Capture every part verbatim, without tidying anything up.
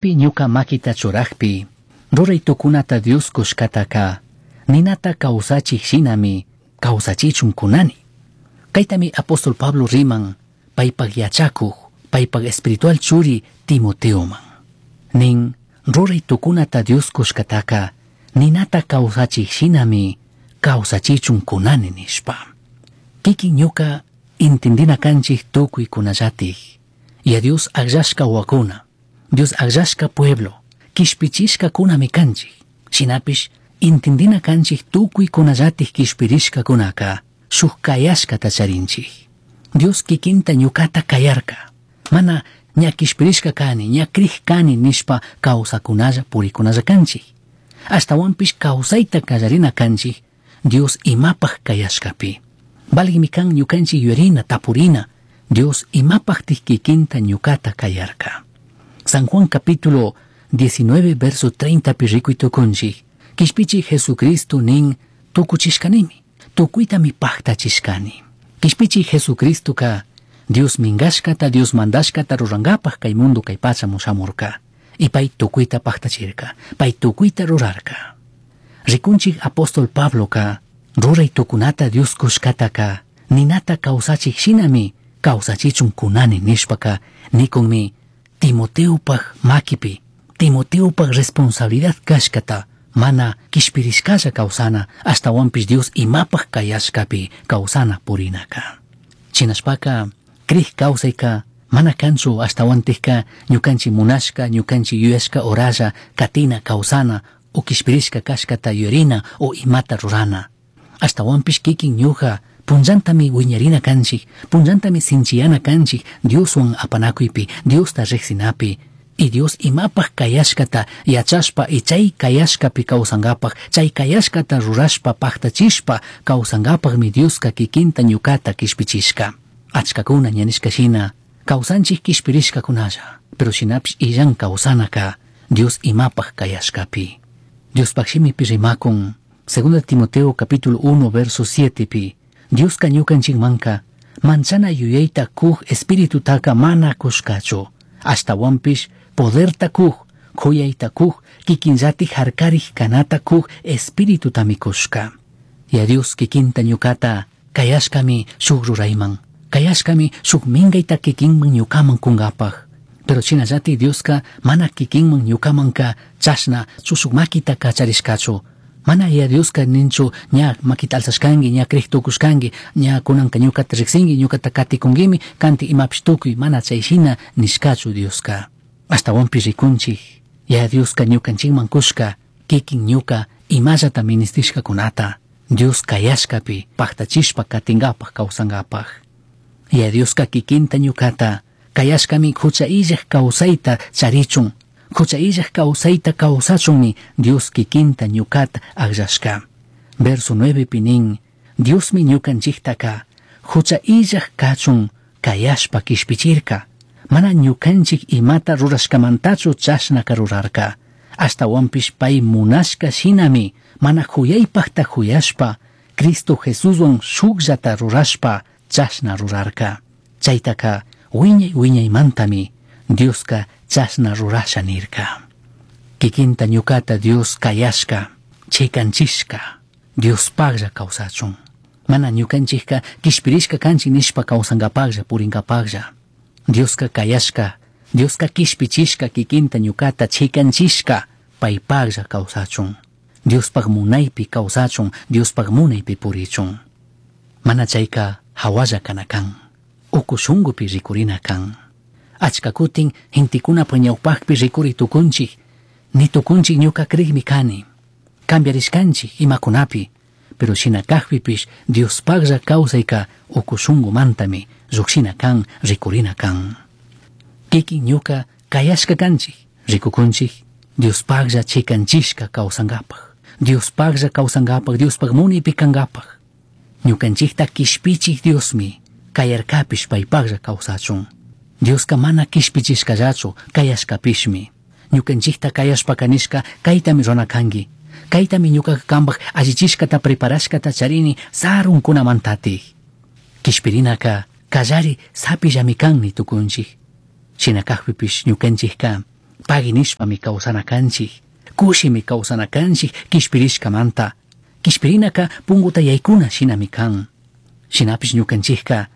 Pi ñuka makita churajpi, ruray tukunata Dios kushkataka, ninata kawsachik shinami kawsachichun kunani. Kaytami apóstol Pablo riman, paypak yachakuj, paypak espiritual churi Timoteoman. Nin, ruray tukunata Dios kushkataka, ninata kawsachik shinami kawsachichun kunani nishpa. Kikin ñuka intindina kanchik tukuy kunallatik, y a Dios akllashka wakuna, Dios akllashka pueblo, kishpichishka kunami kanchik. Shinapish intindina kanchik tukuy kunallatik kishpirishka kunaka, shuk kayashkata charinchik. Dios kikinta ñukata kayarka. Mana ña kishpirishka kani, ña krij kani nishpa kawsakunalla purikunalla kanchik. Ashtawanpish kawsayta kallarina kanchik, Dios imapaj kayashkapi. Valigmi kan ñukanchik yuyarina tapurina, Dios imapajtik kikinta ñukata kayarka. San Juan capítulo diecinueve verso treinta pi rikuy tukunchik. Kishpichi Jesucristo nin tukuchishkanimi, tukuytami paktachishkani. Kishpichi Jesucristo ka Dios mingashkata, Dios mandashkata rurangapaj kay mundo kay pacha mushamurka. Y pay tukuyta paktachirka, pay tukuyta rurarka. Rikunchik apóstol Pablo ka ruray tukunata Dios kushkataka ninata kawsachik shinami kawsachichun kunani nishpaka nikunmi Timoteopaj makipi, Timoteopaj responsabilidad kashkata mana kishpirishkalla kawsana ashtawanpish Dios imapaj kayashkapi kawsana purinaka. Chinashpaka krij kawsayka mana kanchu ashtawantikka ñukanchik munashka, ñukanchik yuyashka oralla katina kawsana o kishpirishka kashkata yuyarina o imata rurana. Ashtawanpish kikin ñuka punllantami wiñarina kanchik, punllantami sinchiyana kanchik Dioswan apanakuypi, Diosta riqsinapi. Y Dios imapaj kayashkata yachashpa y chay kayashkapi kawsankapaj, chay kayashkata rurashpa paktachishpa kawsankapajmi Dioska kikinta ñukata kishpichishka. Achkakuna ña nishka shina kawsanchik kishpirishkakunalla, pero shinapish illan kawsanaka Dios imapaj kayashkapi. Diospaj shimipi rimakun, Segunda Timoteo capítulo uno verso siete pi, Dioska ñukanchikmanka manchana yuyayta kuj espiritutaka mana kushkachu, ashtawanpish poderta kuj, kuyayta kuj, kikinllatik harkarij kanata kuj espiritutami kushka. Ya Dios kikinta ñukata kayashkami shuk rurayman, kayashkami shuk minkayta kikinman ñukaman kunkapaj. Pero shinallati Dioska mana kikinman ñukamanka chashna chushuk makita kacharishkachu. Mana ya Dioska ninchu ña makita alzashkanki, ña krij tukushkanki, ña kunanka ñukata riksinki, ñukata katikunkimi, kanti imapish tukuy, mana chay shina nishkachu Dioska. Ashtawanpish rikunchik, ya Dioska ñukanchikman kushka, kikin ñuka imallata ministishkakunata, Dios kayashkapi paktachishpa katinkapaj kawsankapaj. Ya Dioska kikinta ñukata kayashkami hucha illaj kawsayta charichun, hucha illaj kawsayta kawsachunmi Dios kikinta ñukata akllashka. Verso nueve pi nin, Diosmi ñukanchiktaka hucha illaj kachun kayashpa kishpichirka. Mana ñukanchik imata rurashkamantachu chashnaka rurarka. Ashtawanpish pay munashka shinami mana huyaypajta huyashpa Cristo Jesuswan shukllata rurashpa chashna rurarka. Chaytaka wiñay wiñaymantami Dioska chashna rurasha nirka. Kikinta ñukata Dios kayashka, chikanchishka, Diospaklla kawsachun. Mana ñukanchikka kishpirishka kanchik nishpa kawsankapaklla purinkapaklla. Dioska kayashka, Dioska kishpichishka kikinta ñukata chikanchishka paypaklla kawsachun. Diospaj munaypi kawsachun, Diospaj munaypi purichun. Mana chayka hawalla kana kan, uku shunkupi rikurina kan. Achka kutin gentekunapa ñawpakpi rikuri tukunchik, ni tukunchik ñuka krikmi kani. Cambiarishkanchik imakunapi, pero shina kakpipish Diospaklla kawsayka uku shunkumantami llukshina kan, rikurina kan. Kikin ñuka kayashka kanchik, rikukunchik, Diospaklla chikanchishka kawsankapaj. Diospaklla kawsankapaj, Diospaj munaypi kankapaj. Ñukanchikta kishpichik Diosmi kayarkapish paypaklla kawsachun. Dioska mana kishpichishkallachu, kayashkapishmi. Ñukanchikta kayashpaka nishka kaytami runa kanki. Kaytami ñukaka kanpaj allichishkata preparashkata charini sarunkunamantatik. Kishpirinaka kallari sapillami kan ni tukunchik. Shina kakpipish ñukanchikka Pagui nishpami kawsana kanchik. Kushimi kawsana kanchik kishpirishkamanta. Kishpirinaka punguta yaykuna shinami kan. Shinapish ñukanchikka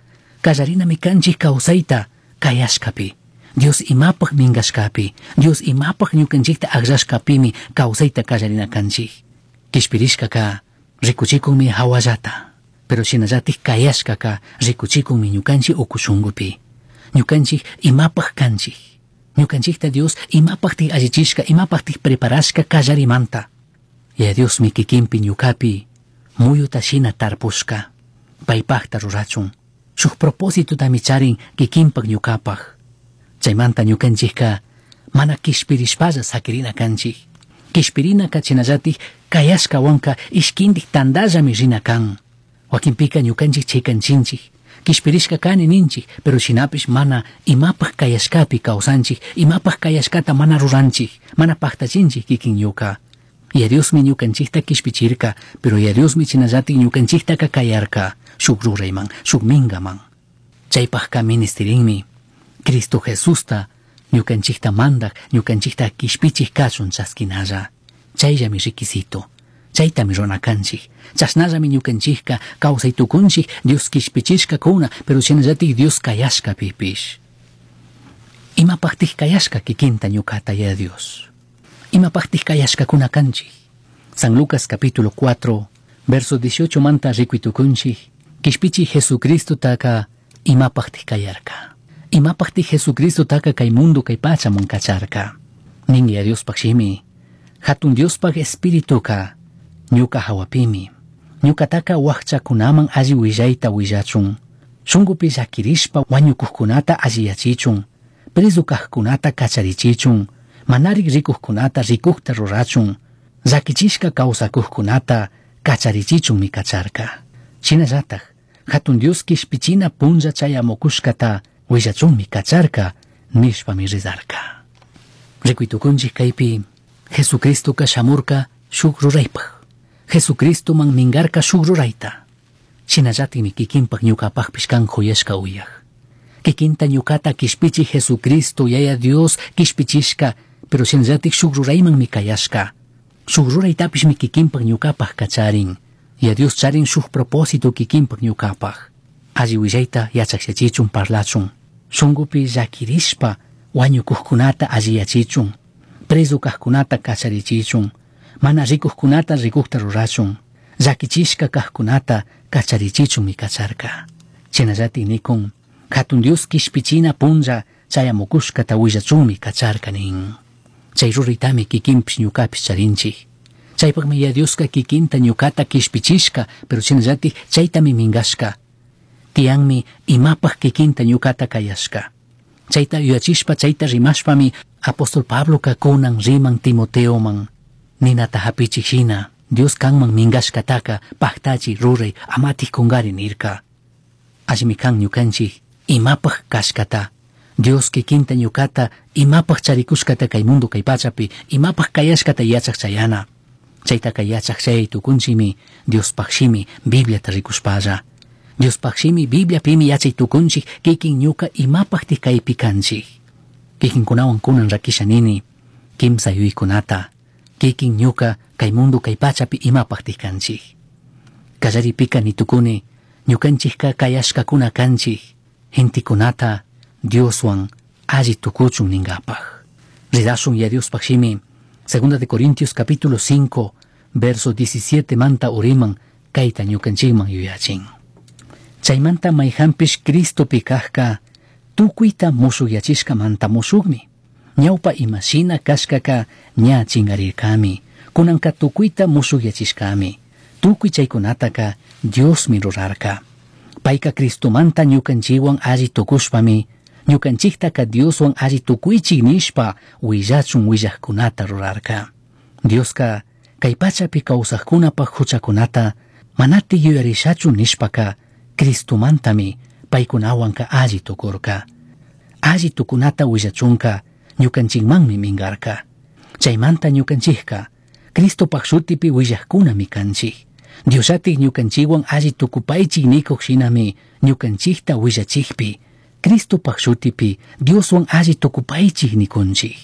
kallarinami kanchik kawsayta kayashkapi. Dios imapaj minkashkapi, Dios imapaj ñukanchikta akllashkapimi kawsayta kallarina kanchik. Kishpirishkaka rikuchikunmi hawallata, pero shinallatik kayashkaka rikuchikunmi ñukanchik uku shunkupi. Ñukanchik imapaj kanchik. Ñukanchikta Dios imapajtik allichishka, imapajtik preparashka kallarimanta. Yaya Diosmi kikinpi ñukapi muyuta shina tarpushka, paypajta rurachun. Shuk propósitotami charin kikinpak ñukapaj. Chaymanta ñukanchikka mana kishpirishpalla sakirina kanchik. Kishpirinaka chinallatik kayashkawanka ishkindik tandallami rina kan. Wakinpika ñukanchik chikanchinchik. Kishpirishka kani ninchik, pero shinapish mana imapaj kayashkapi kawsanchik, imapaj kayashkata mana ruranchik, mana paktachinchik kikin ñuka. Yaya Diosmi ñukanchikta kishpichirka, pero Yaya Diosmi chinallatik ñukanchiktaka kayarka, shuk rurayman, shuk mingaman. Chaypajka ministirinmi Cristo Jesusta ñukanchikta mandak, ñukanchikta kishpichik kachun chaskinalla. Chayllami requisito. Chaytami rurana kanchik. Chashnallami ñukanchikka kawsay tukunchik Dios kishpichishkakuna, pero shinallatik Dios kayashkapipish. Imapajtik kayashka kikinta ñukata Yaya Dios. Imapajtik kayashkakuna kanchik. San Lucas capítulo cuatro, verso dieciocho manta rikuitukunchik, kishpichi Jesucristo taka imapajtik kayarka. Imapajtik Jesucristo taka kay mundo kay pachaman kacharka. Nin Yaya Diospaj shimi, hatun Diospaj espirituka ñuka hawapimi. Ñukataka wakchakunaman alli willayta willachun. Shunkupi llakirishpa wañukuqkunata alliyachichun. Preso kaqkunata kacharichichun. Manarik rikuqkunata rikuqta rurachun. Llakichishka kawsakuqkunata kacharichichunmi kacharka. Shinallataj, hatun Dios kishpichina punlla chayamukushkata willachunmi kacharka nishpami rizarka. Rikuytukunchik kaypi Jesucristoka shamurka shuk ruraypaj. Jesucristoman mingarka shuk rurayta. Shinallatikmi kikinpak ñukapajpish kan juyashka uyaj. Kikinta ñukata kishpichi Jesucristo Yaya Dios kishpichishka, pero shinallatik shuk ruraymanmi kayashka. Shuk ruraytapishmi kikinpak ñukapaj kacharin. Yaya Dios charin shuk propósito kikinpak ñukapaj. Alli willayta yachakyachichun parlachun. Shunkupi llakirishpa wañukuqkunata alliyachichun. Preso kaqkunata kacharichichun. Mana rikuqkunata rikuqta rurachun. Llakichishka kaqkunata kacharichichunmi kacharka. Shinallatik nikun, hatun Dios kishpichina punlla chayamukushkata willachunmi kacharka nin. Chay ruraytami kikinpish ñukapish charinchik. Chaypaqmi Yaya Dioska kikinta ñukata kishpichishka, pero shinallatik chaytami minkashka. Tiyanmi imapaj kikinta ñukata kayashka. Chayta yuyachishpa, chayta rimashpami apóstol Pabloka kunan riman Timoteoman. Ninata hapichik shina, Dios kanman minkashkataka paktachi ruray amatik kunkari nirka. Allimi kan ñukanchik imapaj kashkata. Dios kikinta ñukata imapaj charikushkata kay mundo kay pachapi imapaj kayashkata yachak chayana. Chaytaka yachak chay tukunchimi Diospaj shimi Bibliata rikushpalla. Diospaj shimi Bibliapimi yachay tukunchik kikin ñuka imapajtik kaypi kanchik. Kikinkunawan kunan rakisha nini kimsa yuykunata. Kikin ñuka kay mundo kay pachapi imapajtik kanchik. Kallaripika nitukuni ñukanchikka kayashkakuna kanchik. Gentekunata Dioswan alli tukuchun ninkapaj. Ridashun ya Diospaj shimi. Segunda de Corintios capítulo cinco, verso diecisiete manta uriman kayta ñukanchikman yuyachin. Chaymanta mayhanpish Cristopi kajka tukuyta mushuyachishkamanta mushukmi. Ñawpa imashina kashkaka ña chingarirkami. Kunanka tukuyta mushuyachishkami. Tukuy chaykunataka Diosmi rurarka. Payka Cristomanta ñukanchikwan alli tukushpami ñukanchiktaka Dioswan alli tukuychik nishpa willachun willajkunata rurarka. Dioska kay pachapi kawsajkunapaj huchakunata manati yuyarishachu nishpaka Cristomantami paykunawanka alli tukurka. Alli tukunata willachunka ñukanchikmanmi minkarka. Chaymanta ñukanchikka Cristopaj shutipi willajkunami kanchik. Diosllatik ñukanchikwan alli tukupaychik nikuq shinami ñukanchikta willachikpi Cristopaj shutipi Dioswan alli tukupaychik nikunchik.